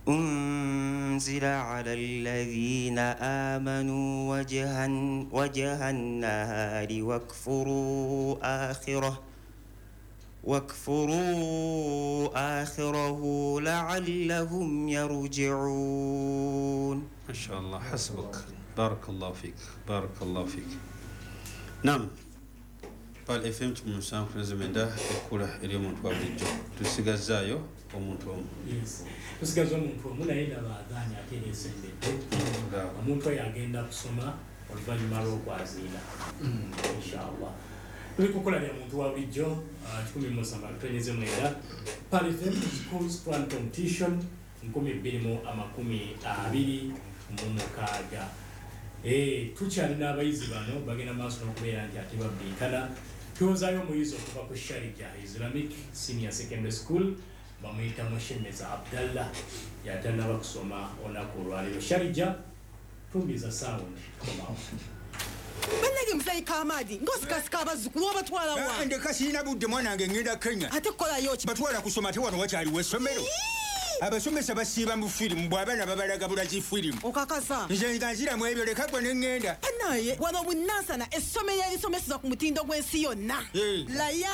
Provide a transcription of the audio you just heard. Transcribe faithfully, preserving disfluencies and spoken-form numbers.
أنزل على الذين آمنوا وجه, وجه النهار واكفروا آخره واكفروا آخره لعلهم يرجعون. ما شاء الله، حسبك، بارك الله فيك، بارك الله فيك. Nam Pearl F M musanvu mwenda ekkula ery'omuntu wa bulijjo. Tusigazaayo omuntu omu. Yes, tusigaza omuntu omu, naye ndaba adhaani ate era esembedde. Omuntu oyo agenda kusoma oluvannyuma lw'okwaziina, inshallah. Tuli kukola lya muntu wa bulijjo, kikumi musanvu akatonyeze mwenda, Pearl F M Schools Quran Competition nkumi bbiri mu amakumi abiri mu mukaaga. Eh, tukyalina abayizi bano bagenda maaso n'okubeera nti ate babbinkana. Tuwozaayo omuyizi okuva ku Sharjah Islamic Senior Secondary School, bamuyita Mushemeza Abdallah, yatanaba kusoma olunaku olwaleero. Sharjah, tumbiza sound, komawo. Bannange, muzeeyi Kamadi, ng'osikasika abazzukulu, obatwala wa? Ndeka, sirina budde, mwana wange, ŋŋenda Kenya. Ate kukolayo ki? Batwala kusoma, ate wano wakyaliwo essomero? Abasomesa basiiba mu firimu, bw'abaana babalaga bulazi firimu. Okakasa? Nze nga nziramu ebyo, leka gwe ne ŋŋenda. Banaye, wano Bunansana, essomero erisomeseza ku mutindo gw'ensi yonna. Eh. Layan.